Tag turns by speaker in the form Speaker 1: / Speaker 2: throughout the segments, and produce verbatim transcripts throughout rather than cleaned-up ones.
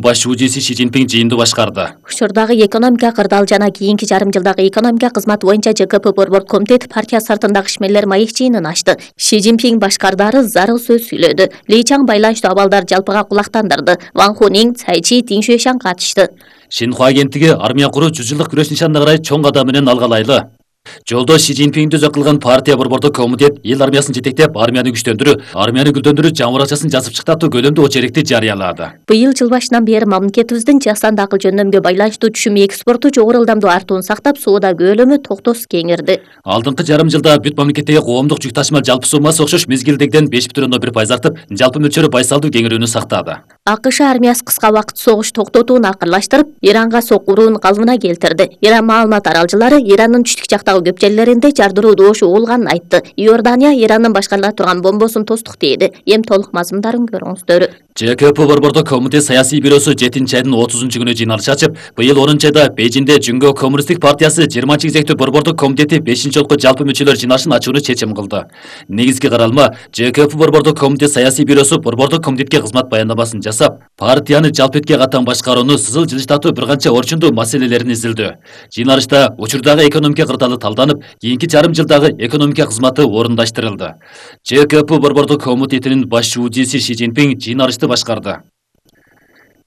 Speaker 1: Баш УЖИси Ши Цзиньпин жыйынды башкарды.
Speaker 2: Учурдагы экономика кырдаал жана кийинки жарым жылдагы экономика кызматы боюнча ЖКП Борбордук комитет партия сыртындагы ишмерлер маек жыйынын ачты. Ши Цзиньпин башкардары зарыл сөз сүйлөдү. Ли Чаң байланыштуу абалдар жалпыга кулактандырды. Ван Хунин, Цай Чи, Дин Шуэшан катышты.
Speaker 1: Шинхуа агенттиги армия куруу жүз жылдык күрөш нишанына карай чоң кадам менен алгалайлы. Жолдо Ши Цзиньпинди өзөк кылган партия Борбордук комитет эл армиясын жетектеп, армияны күчтөндүрүү, армияны гүлдөндүрүү жаңы акчасын жазып чыктатуу көлөмдүү очеркти жарыялады.
Speaker 2: Быйыл жыл башынан бери мамлекетибиздин Жакстанда акыл жөндөмгө байланыштуу түшүм экспорту жогору ылдамдуу артууну сактап, соода көлөмү токтосуз кеңирди.
Speaker 1: Алдыңкы жарым жылда бүт мамлекеттеги коомдук жүк ташыма жалпы суммасы окшош мезгилдегиден беш бүтүн ондон бир пайыз артып, жалпы мөлчөрү байсалдуу кеңирүүнү сактады.
Speaker 2: АКШ армиясы кыска убакыт согуш токтотууну акырлаштырып, Иранга сокуруун калыбына келтирди. Иран маалымат аралчылары Ирандын түштүк жактагы көп жерлеринде жардыруу добушу болгонун айтты. Иордания Ирандын башкарыла турган бомбосун тостук дейди. Эми толук мазмундарын көрүңүздөр.
Speaker 1: ЖКП Борбордук комитет саясий бюросу жетинчи айдын отузунчу күнү жыйналыш ачып, быйыл онунчу айда Бейжиңде Жүнгө коммунисттик партиясы жыйырманчы кезектүү Борбордук комитети бешинчи жолку жалпы мүчөлөр жыйналышын ачууну чечим кылды. Негизги каралма ЖКП Борбордук комитет саясий бюросу Борбордук комитетке кызмат баяндамасын жасап, партияны жалпы этке катан башкарууну сызыл жылыштатуу бир канча орчундуу маселелерин изилдөө. Жыйналышта учурдагы экономика кырдаалы талданып, кийинки жарым жылдагы экономика кызматы орундаштырылды. ЖКП Борбордук комитетинин баш УЖИси Ши Цзиньпин жыйналышты башкарды.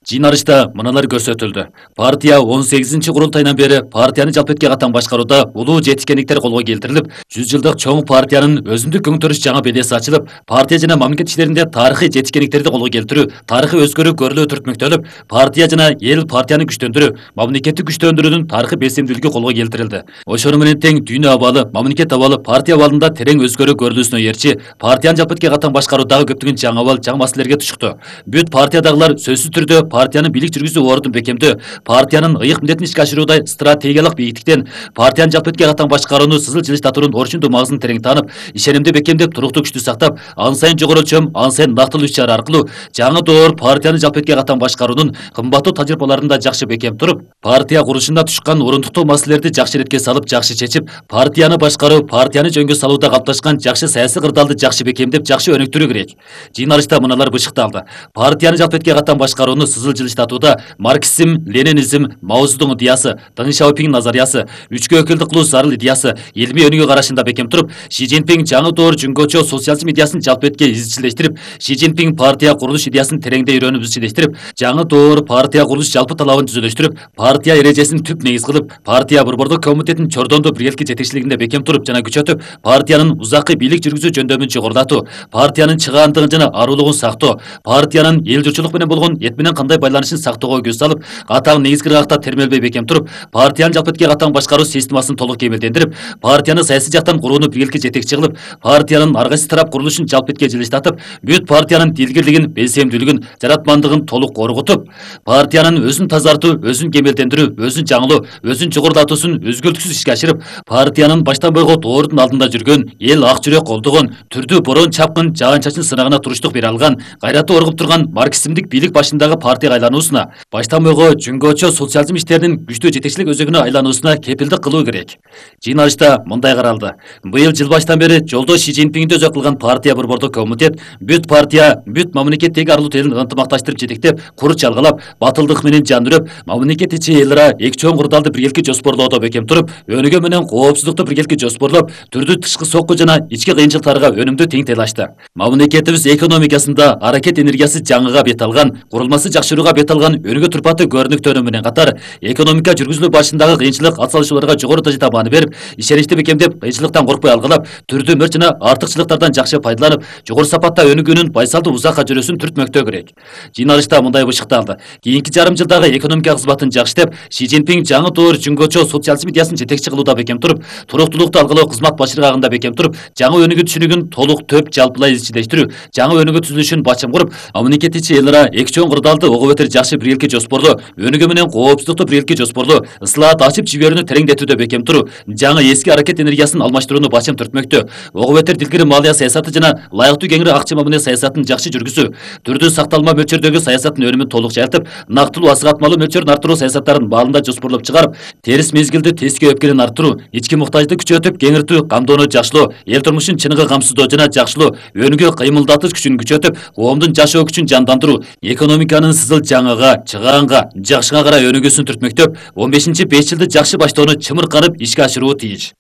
Speaker 1: Жыйналышта мыналар көрсөтүлдү. Партия он сегизинчи курултайынан бери партияны жалпы этке катан башкарууда улуу жетишкендиктер колго келтирилип, жүз жылдык чоң партиянын өзүндүк көңтөрүш жаңа белеси ачылып, партия жана мамлекет иштеринде тарыхый жетишкендиктерди колго келтирүү, тарыхый өзгөрүү көрүлөө түртмөктөлүп, партия жана эл партияны күчтөндүрүү, мамлекетти күчтөндүрүүнүн тарыхый белсемдүүлүгү колго келтирилди. Ошону менен тең дүйнө абалы, мамлекет абалы партия абалында терең өзгөрүү көрүлүүсүнө ээрчи, партияны жалпы этке катан башкаруудагы көптөгөн жаңы абал, жаңы маселелерге тушукту. Бүт партиядагылар сөзсүз түрдө партиянын бийлик жүргүзүү ордун бекемдөө, партиянын ыйык милдетин ишке ашырууда стратегиялык бийиктиктен, партиянын жалпы этке катан башкарууну сызыл жылыштатуунун орчундуу магызын терең таанып, ишенимди бекемдеп, туруктуу күчтү сактап, ан сайын жогору чөм, ан сайын нактылуу иш-чара аркылуу жаңы доор партияны жалпы этке катан башкаруунун кымбаттуу тажрыйбаларын да жакшы бекем туруп, партия курушунда тушкан орундуктуу маселелерди жакшы иретке салып, жакшы чечип, партияны башкаруу, партияны жөнгө салууда калыпташкан жакшы саясий кырдаалды жакшы бекемдеп, жакшы өнүктүрүү керек. Жыйналышта мыналар бышыкталды. Партияны жалпы этке катан башкарууну сызыл жылыштатууда марксизм, ленинизм, Мао Цзэдуң идеясы, Дэн Шаопинг назариясы, үчкө өкүлдүк кылуу зарыл идеясы, илмий өнүгүү карашында бекем туруп, Ши Цзиньпин жаңы доор жүнгөчө социализм идеясын жалпы этке изчилештирип, Ши Цзиньпин партия курулуш идеясын тереңдей үйрөнүп изчилештирип, жаңы доор партия курулуш жалпы талабын түзөлөштүрүп, партия эрежесин түп негиз кылып, партия Борбордук комитетин чордондуу биргеликти жетекчилигинде бекем туруп жана күчөтүп, партиянын узаккы бийлик жүргүзүү жөндөмүн жогорулатуу, партиянын чыгаандыгын жана аруулугун сактоо, партиянын эл журтчулук менен болгон эт менен кандай байланышын сактоого көз салып, катаң негизги ыргакта термелбей бекем туруп, партиянын жалпы этке катан башкаруу системасын толук кемелдендирип, партияны саясий жактан курууну биргеликке жетекчи кылып, партиянын ар кайсы тарап курулушун жалпы этке жылыштатып, бүт партиянын дилгирлигин, белсемдүүлүгүн, жаратмандыгын толук корготуп, партиянын өзүн тазартуу, өзүн кемелдендирүү, өзүн жаңылоо, өзүн жогорулатуусун өзгөлтүксүз ишке ашырып, партиянын баштан бойго доордун алдында жүргөн, эл ак жүрөк колдогон, түрдүү борон чапкын, жаан чачын сынагына туруштук бере алган, гайраты оргуп турган марксизмдик бийлик башындагы партияга айлануусуна, баштан бойго жүнгөчө социализм иштеринин күчтүү жетекчилик өзөгүнө айлануусуна кепилдик кылуу керек. Жыйналышта мындай каралды. Быйыл жыл баштан бери жолдо Ши Цзиньпинди өзөк кылган партия Борбордук комитет бүт партия, бүт мамлекеттеги арлуу элин ынтымакташтырып жетектеп, кур чалгалап, батылдык менен жандырып, мамлекет ичи эл ара эки чоң курдалды биргеликке жоспорлоодо бекем туруп, өнүгүү менен коопсуздукту биргеликке жоспорлоп, түрдүү тышкы сокку жана ички кыйынчылыктарга өнүмдүү тең тейлашты. Мамлекетибиз экономикасында аракет энергиясы жаңыга бет алган, курулмасы жакшырууга бет алган өнүгүү турпаты көрүнүктөнүү менен катар, экономика жүргүзүлүү башындагы кыйынчылык атсалышууларга жогору дажада маани берип, ишеничти бекемдеп, кыйынчылыктан коркпой алгалап, түрдүү мөр жана артыкчылыктардан жакшы пайдаланып, жогору сапатта өнүгүүнүн байсалдуу узакка жүрүүсүн түртмөктөө керек. Жыйналышта мындай бышыкталды. Кийинки жарым жылдагы экономика кызматын жакшытып, Ши Цзиньпин жаңы доор жүнгөчө социализм идеясын жетекчи кылууда бекем туруп, туруктуулукту алгалоо кызмат башыргагында бекем туруп, жаңы өнүгүү түшүнүгүн толук төп жалпылай изчилештирүү, жаңы өнүгүү түзүлүшүн бачым куруп, мамлекет ичи эл ара эки чоң курдалды ого бетер жакшы биргеликке жоспорлоо, өнүгүү менен коопсуздукту биргеликке жоспорлоо, ыслаат ачып жиберүүнү тереңдетүүдө бекем туруу, жаңы эски аракет энергиясын алмаштырууну бачым түртмөктө, ого бетер дилгири малия саясаты жана ылайыктуу кеңири акча мамиле саясатын жакшы жүргүзүү, түрдүү сакталма мөлчөрдөгү саясаттын өнүмүн толук жайылтып, нактылуу асыгатмалуу мөлчөрүн арттыруу саясаттарын баалында жоспорлоп чыгарып, терис мезгилде теске өпкелин арттыруу, ички муктажды күчөтүп, кеңиртүү, камдоону жакшылоо, эл турмушун чыныгы камсыздоо жана жакшылоо, өнүгүү кыймылдатыш күчүн күчөтүп, коомдун жашоо күчүн жандандыруу, экономиканын кызыл жаңыга, чыгаанга, жакшыга карай өнүгүүсүн түртмөктөп, он бешинчи беш жылды жакшы баштоону чымырканып ишке ашыруу тийиш.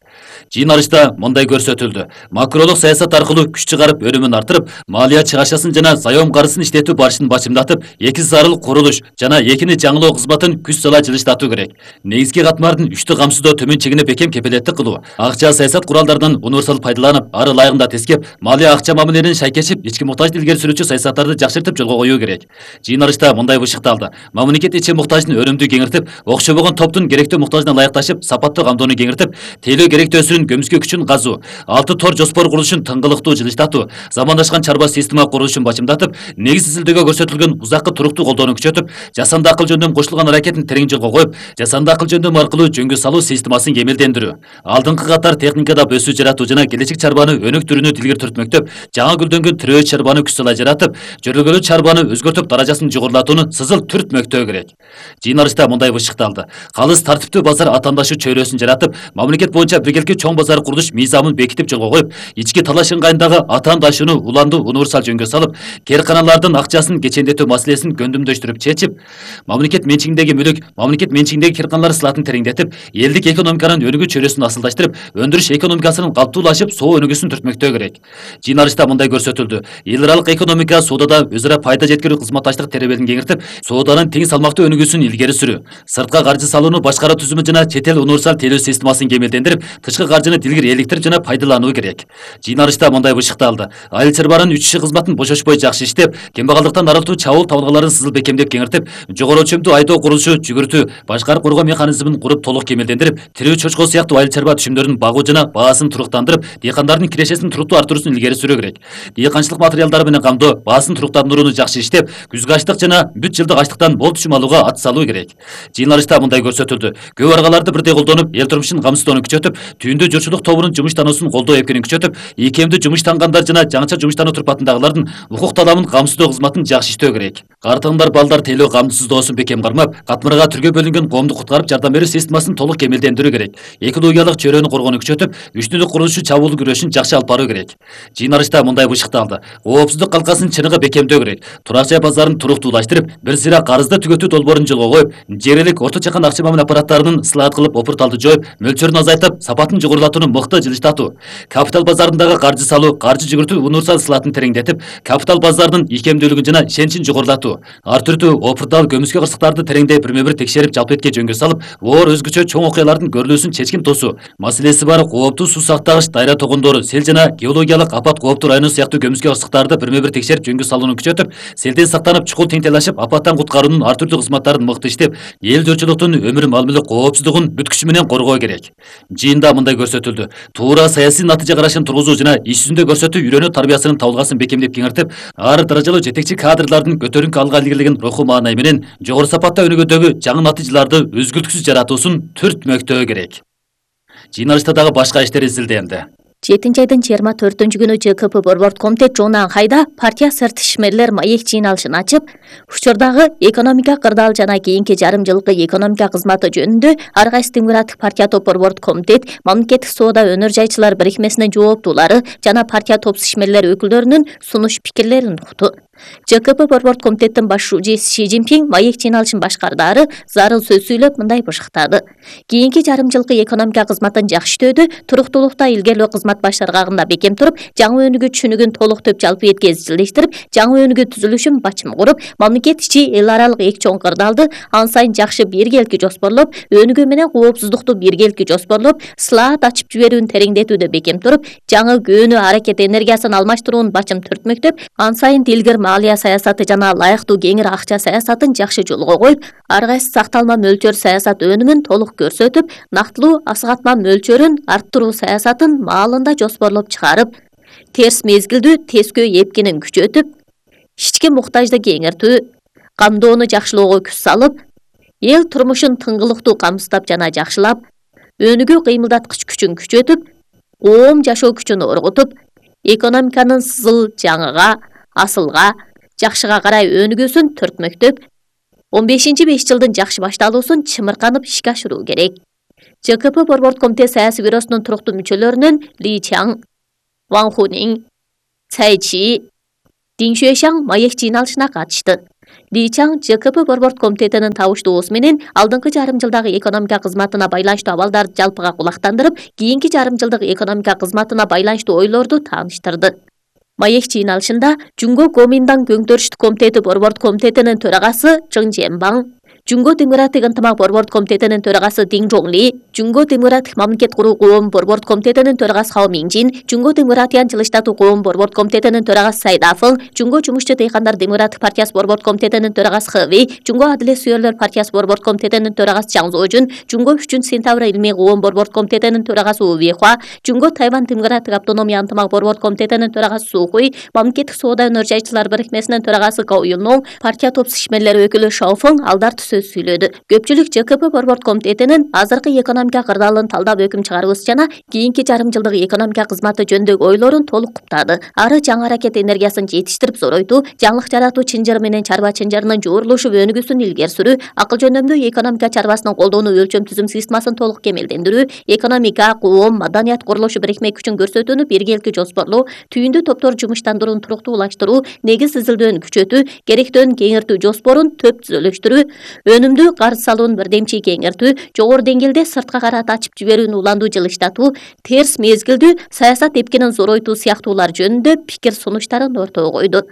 Speaker 1: Жыйын алышта мындай көрсөтүлдү. Макролук саясат аркылуу күч чыгарып өнүмүн артырып, малия чыгашасын жана заем карызын иштетүү барышын бачымдатып, эки зарыл курулуш жана экини жаңылоо кызматын күч сала жылыштатуу керек. Негизги катмардын үчтү камсыздоо төмөн чегине бекем кепилеттик кылуу, акча саясат куралдарынан универсал пайдаланып, ары ылайыгында тескеп, малия акча мамилелерин шайкешип, ички муктажды илгери сүрүүчү саясаттарды жакшыртып жолго коюу керек. Жыйын алышта мындай бышыкталды. Мамлекет ичи муктаждын өнүмдүү кеңиртип, окшобогон топтун керектүү муктажына ылайыкташып, сапаттуу камдоону кеңиртип, тейлөө керектөөсүнүн көмүскө күчүн казуу, алты тор жоспор курулушун тыңгылыктуу жылыштатуу, замандашкан чарба система курулушун бачымдатып, негиз изилдөөгө көрсөтүлгөн узаккы туруктуу колдоону күчөтүп, жасанды акыл жөндөм кошулган аракетин терең жолго коюп, жасанды акыл жөндөм аркылуу жөнгө салуу системасын кемелдендирүү, алдыңкы катар техникада өсүү жаратуу жана келечек чарбаны өнүктүрүүнү илгери сүртмөктөп, жаңы гүлдөнгөн тирөө чарбаны күч сала жаратып, жөрөлгөлүү чарбаны өзгөртүп даражасын жогорулатууну сызыл түртмөктөө керек. Жыйын алышта мындай бышыкталды. Калыс тартиптүү базар атаандашуу чөйрөсүн жаратып, мамлекет боюнча биргеликти чоң базар курулуш мыйзамын бекитип жолго коюп, ички талаш ыңгайындагы атаандашууну уланду универсал жөнгө салып, керканалардын акчасын кечендетүү маселесин көндүмдөштүрүп чечип, мамлекет менчигиндеги мүлүк, мамлекет менчигиндеги керканалар сылатын тереңдетип, элдик экономиканын өнүгүү чөйрөсүн асылдаштырып, өндүрүш экономикасынын калптуулашып, соо өнүгүүсүн түртмөктөө керек. Жыйын алышта мындай көрсөтүлдү. Эл аралык экономика соодада өз ара пайда жеткирүү кызматташтык теребелин кеңиртип, сооданын тең салмактуу өнүгүүсүн илгери сүрүү, сыртка каржы салууну башкаруу түзүмү жана чет эл универсал тейлөө системасын кемелдендирип, тышкы каржыны дилгир эликтирип жана пайдалануу керек. Жыйын алышта мындай бышыкталды. Айыл чарбанын үч иши кызматын бошошпой жакшы иштеп, кембагалдыктан арылтуу чабуул табылгаларын сызыл бекемдеп кеңиртип, жогору өлчөмдүү айдоо курулушу, жүгүртүү, башкарып коргоо механизмин куруп толук кемелдендирип, тирүү чочко сыяктуу айыл чарба түшүмдөрүн багуу жана баасын туруктандырып, дыйкандардын кирешесин туруктуу арттыруусун илгери сүрүү керек. Дыйканчылык материалдары менен камдоо, баасын туруктандырууну жакшы иштеп, күзгү ачлык жана бүт жылдык ачлыктан мол түшүм алууга ат салуу керек. Жыйын алышта мындай көрсөтүлдү. Көп аргаларды бирдей колдонуп, эл турмушун камсыздоону күчөтүп, түйүндүү журтчулук тобунун жумуштануусун колдоо эпкенин күчөтүп, ийкемдүү жумуштангандар жана жаңыча жумуштануу турпатындагылардын укук таламын камсыздоо кызматын жакшы иштөө керек. Картаңдар балдар тейлөө камсыздоосун бекем кармап, катмырга түргө бөлүнгөн коомду куткарып жардам берүү системасын толук кемелдендирүү керек. Экологиялык чөйрөнү коргоону күчөтүп, үчтүндүк курулушу чабуул күрөшүн жакшы алып баруу керек. Жыйын алышта мындай бышыкталды. Коопсуздук калкасын чыныгы бекемдөө керек. Турак жай базарын туруктуулаштырып, бир сыйра карызды түгөтүү долбоорун жолго коюп, жергилик орто чакан акча мамиле аппараттарынын ысылаат кылып, опурталды жоюп, мөлчөрүн азайтып, сапатын жогорулатууну мыкты жылыштатуу. Капитал базарындагы каржы салуу, каржы жүгүртүү универсал сылаатын тереңдетип, капитал базарынын ийкемдүүлүгүн жана ишеничин жогорулатуу. Ар түрдүү опуртал көмүскө кырсыктарды тереңдей бирме-бир текшерип, жалпы этке жөнгө салып, оор өзгөчө чоң окуялардын көрүлүүсүн чечкин тосуу. Маселеси бар кооптуу суу сактагыч дайра тогондору, сел жана геологиялык апат кооптуу району сыяктуу көмүскө кырсыктарды бирме-бир текшерип жөнгө салууну күчөтүп, селден сактанып чукул теңтелашып, апаттан куткаруунун ар түрдүү кызматтарын мыкты иштеп, эл журтчулуктун өмүр мал мүлүк коопсуздугун бүт күчү менен коргоо керек. Жыйында мындай көрсөтүлдү. Туура саясий натыйжа карашын тургузуу жана иш жүзүндө көрсөтүү үйрөнүү тарбиясынын табылгасын бекемдеп кеңиртип, ар даражалуу жетекчи кадрлардын көтөрүңкү алга илгерилеген руху маанай менен жогору сапатта өнүгүүдөгү жаңы натыйжаларды үзгүлтүксүз жаратуусун түртмөктөө керек. Жыйын алышта дагы башка иштер изилденди.
Speaker 2: жетинчи айдын жыйырма төртүнчү күнү ЖКП Борбордук комитет Жонан Хайда партия сырт ишмерлер маек жыйын алышын ачып, учурдагы экономика кырдаал жана кийинки жарым жылкы экономика кызматы жөнүндө Ар кайсы Демократик партия топ Борбордук комитет, мамлекеттик соода өнөр жайчылар бирикмесинин жооптуулары жана партия топ ишмерлер өкүлдөрүнүн сунуш пикирлерин укту. ЖКП Борбордук комитеттин башчысы Си Цзиньпин маек жыйын алышын башкардары зарыл сөз сүйлөп мындай бышыктады. Кийинки жарым жылкы экономика кызматын жакшы иштөөдө, туруктуулукта илгерилөө кызмат баштаргагында бекем туруп, жаңы өнүгүү түшүнүгүн толуктоп жалпы этке жылыштырып, жаңы өнүгүү түзүлүшүн бачым куруп, мамлекет ичи эл аралык эки чоң кырдаалды ан сайын жакшы биргеликти жоспорлоп, өнүгүү менен коопсуздукту биргеликти жоспорлоп, сылаат ачып жиберүүнү тереңдетүүдө бекем туруп, жаңы көөнү аракет энергиясын алмаштыруунун бачым түртмөктөп, ан сайын дилгир малия саясаты жана ылайыктуу кеңир акча саясатын жакшы жолго коюп, ар кайсы сакталма мөлчөр саясат өнүмүн толук көрсөтүп, нактылуу асыгатма мөлчөрүн арттыруу саясатын маалында жоспорлоп чыгарып, терс мезгилдүү тескөө эпкинин күчөтүп, ички муктажды кеңиртүү, камдоону жакшылоого күч салып, эл турмушун тыңгылыктуу камсыздап жана жакшылап, өнүгүү кыймылдаткыч күчүн күчөтүп, коом жашоо күчүн оргутуп, экономиканын сызыл жаңыга, асылга, жакшыга карай өнүгүүсүн түртмөктөп, он бешинчи беш жылдын жакшы башталуусун чымырканып ишке ашыруу керек. ЖКП Борбордук комитет саясий бюросунун туруктуу мүчөлөрүнөн Ли Чаң, Ван Хунин, Цай Чи, Дин Шуэшаң маек жыйын алышына катышты. Ли Чаң ЖКП борборд комитетинин табыштоосу менен алдыңкы жарым жылдагы экономика кызматына байланыштуу абалдарды жалпыга кулактандырып, кийинки жарым жылдык экономика кызматына байланыштуу ойлорду тааныштырды. Маек жыйналышында Жунго Гоминдан көңтөрүштүү комитети борборд комитетинин төрагасы Чың Жембаң, Жунго Демократик ынтымак борборд комитетинин төрагасы Дин Жоңли, Жунго Демократик мамлекет куруу коом борборд комитетинин төрагасы Хао Минжин, Жунго Демократияны жылыштатуу коом борборд комитетинин төрагасы Сайдафың, Жунго Жумушчу дыйкандар Демократик партиясы борборд комитетинин төрагасы Хэви, Жунго Адилет сүйөрлөр партиясы борборд комитетинин төрагасы Чаң Зожун, Жунго үчүнчү сентябрь илмий коом борборд комитетинин төрагасы У Вихуа, Жунго Тайвань Демократик автономия ынтымак борборд комитетинин төрагасы Сухуй, мамлекеттик соода өнөр жайчылар бирикмесинин төрагасы Гау Юнноң, партия топс ишмерлери өкүлү Шаофың алдар сөз сүйлөдү. Көпчүлүк ЖКП борборд комитетинин азыркы экономика кырдаалын талдап өкүм чыгарыбыз жана кийинки жарым жылдык экономика кызматы жөнүндөгү ойлорун толук куптады. Ары жаңы аракет энергиясын жетиштирип зоройтуу, жаңылык жаратуу чынжыры менен чарба чынжырынын жуурулушуп өнүгүүсүн илгери сүрүү, акыл жөндөмдүү экономика чарбасынын колдоону өлчөм түзүм системасын толук кемелдендирүү, экономика, коом, маданият курулушу бирикме күчүн көрсөтүүнү биргеликти жоспорлоо, түйүндүү топтор жумуштандырууну туруктуулаштыруу, негиз изилдөөнү күчөтүү, керектөөнү кеңиртүү жоспорун төп түзөлүштүрүү, өнүмдүү карыз салуунун бирдемчи кеңиртүү, жогору деңгээлде сыртка карат ачып жиберүүнү уландуу жылыштатуу, терс мезгилдүү саясат эпкенин зоройтуу сыяктуулар жөнүндө пикир сунуштарын ортого койду.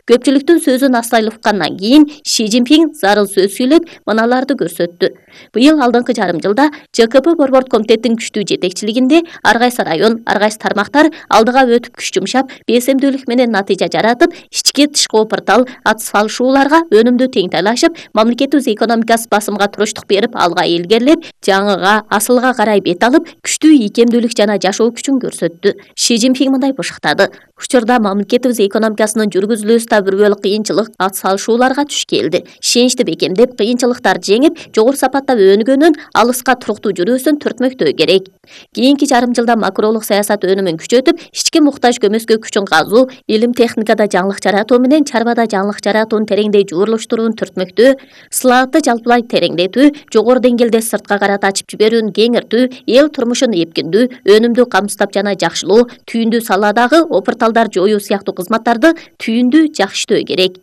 Speaker 2: Көпчүлүктүн сөзүн астай уккандан кийин Ши Цзиньпин зарыл сөз сүйлөп, мыналарды көрсөттү. Быйыл алдыңкы жарым жылда ЖКП борборд комитеттин күчтүү жетекчилигинде ар кайсы район, ар кайсы тармактар алдыга өтүп күч жумшап, бесемдүүлүк менен натыйжа жаратып, ички тышкы опуртал, ат салышууларга өнүмдүү теңтайлашып, мамлекетибиз экономикасы басымга туруштук берип, алга илгерилеп, жаңыга, асылга карай бет алып, күчтүү ийкемдүүлүк жана жашоо күчүн көрсөттү. Ши Цзиньпин мындай бышыктады. Учурда мамлекетибиз экономикасынын жүргүзүлүүсүндө бир бөлүк кыйынчылык ат салышууларга туш келди. Ишеничти бекемдеп, кыйынчылыктарды жеңип, жогору сапатта өнүгөнүн, алыска туруктуу жүрүүсүн түртмөктөө керек. Кийинки жарым жылда макролук саясат өнүмүн күчөтүп, ички муктаж көмөскө күчүн казуу, илим техникада жаңылык жаратуу менен чарбада жаңылык жаратууну тереңдей жуурулуштурууну түртмөктөө, сылаатты жалпылай тереңдетүү, жогору деңгээлде сыртка карат ачып жиберүүнү кеңиртүү, эл турмушун эпкиндүү, өнүмдүү камсыздап жана жакшылоо, түйүндүү саладагы опурталдар жоюу сыяктуу кызматтарды түйүндүү жакшытөө керек.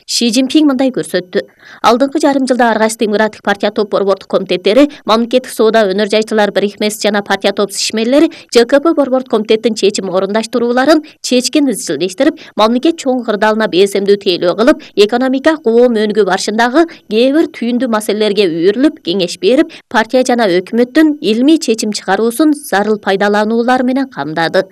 Speaker 2: Ши Цзиньпин мындай көрсөттү. Алдыңкы жарым жылда ар кайсы Демократик партия топ борбордук комитеттери, мамлекеттик соода өнөр жайчылар бирикмеси жана партия топ ишмерлери ЖКП борборд комитеттин чечим орундаштырууларын чечкин изчилдештирип, мамлекет чоң кырдаалына бесемдүү тейлөө кылып, экономика коом өнүгүү барышындагы кээ бир түйүндүү маселелерге үйрүлүп, кеңеш берип, партия жана өкмөттүн илмий чечим чыгаруусун зарыл пайдалануулар менен камдады.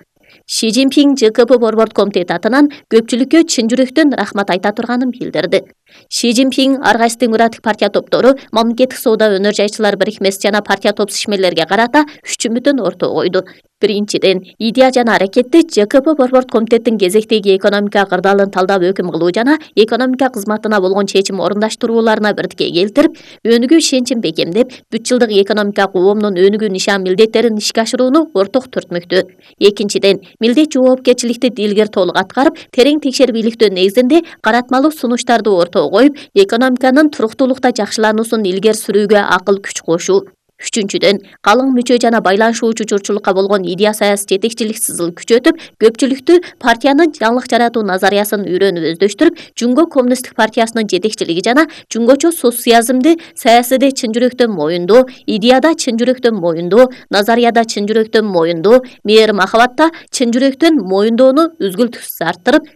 Speaker 2: Ши Цзиньпин ЖКП борборд комитети атынан көпчүлүккө чын жүрөктөн рахмат айта турганын билдирди. Ши Цзиньпин ар кайсы Демократик партия топтору, мамлекеттик соода өнөр жайчылар бирикмеси жана партия топ ишмерлерге карата үч үмүтүн ортого койду. Биринчиден, идея жана аракетти ЖКП борборд комитеттин кезектеги экономика кырдаалын талдап өкүм кылуу жана экономика кызматына болгон чечим орундаштырууларына бирдикке келтирип, өнүгүү ишеничин бекемдеп, бүт жылдык экономика коомдун өнүгүү нишан милдеттерин ишке ашырууну орток түртмөктө. Экинчиден, милдет жоопкерчиликти дилгер толук аткарып, терең текшерип иликтөө негизинде каратмалуу сунуштарды ортого коюп, экономиканын туруктуулукта жакшылануусун илгери сүрүүгө акыл күч кошуу. Үчүнчүдөн, калың мүчө жана байланышуучу журтчулукка болгон идея саясий жетекчилик сызыл күчөтүп, көпчүлүктү партиянын жаңылык жаратуу назариясын үйрөнүп өздөштүрүп, Жунго коммунисттик партиясынын жетекчилиги жана жунгочо социализмди саясийде чын жүрөктөн моюндоо, идеяда чын жүрөктөн моюндоо, назарияда чын жүрөктөн моюндоо, мээр махабатта чын жүрөктөн моюндоону үзгүлтүксүз арттырып,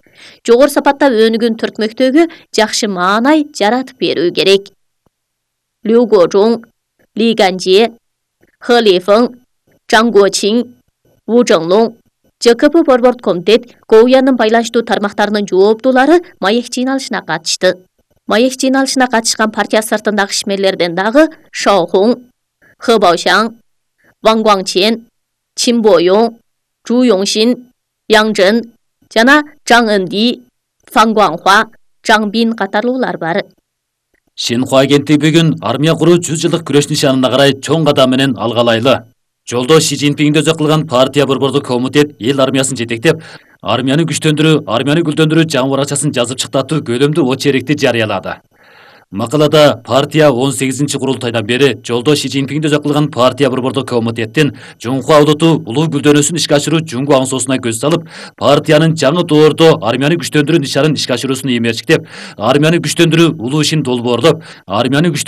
Speaker 2: жогору сапатта өнүгүүнү түртмөктөгү жакшы маанай жаратып берүү керек. Лю Гожуң, Ли Ганжи, Хэ Лифeng, Чжан Гуочин, Ву Зhenglong, ЖКП борборд комитет, Гоуянын байланыштуу тармактарынын жооптуулары маек жыйналышына катышты. Маек жыйналышына катышкан партия сыртындагы ишмерлерден дагы Шао Хун, Хэ Баошаң, Ван Гуаңчен, Чин Боюң, Жу Йоңшин, Яң Жэн жана Чжан Энди, Фан Гуаңхуа, Чжан Бин катарлуулар бар.
Speaker 1: Шинхуа агенттиги бүгүн армия куруу жүз жылдык күрөш нишанына карай чоң кадам менен алгалайлы. Жолдо Ши Цзиньпинди өзөк кылган партия борбордук комитет эл армиясын жетектеп, армияны күчтөндүрүү, армияны гүлдөндүрүү жаңы баракчасын жазып чыктатуу көлөмдүү очеркти жарыялады. Макалада партия он сегизинчи курултайдан бери жолдо Ши Цзиньпиңди өзөк кылган партия борбордук комитеттин Жунхуа улуту улуу гүлдөнүүсүн ишке ашыруу жуңгу аңсоосуна көз салып, партиянын жаңы доордо армияны күчтөндүрүү ишарын ишке ашыруусун иймерчиктеп, армияны күчтөндүрүү улуу ишин долбоорлоп, армияны күчтөндүрүү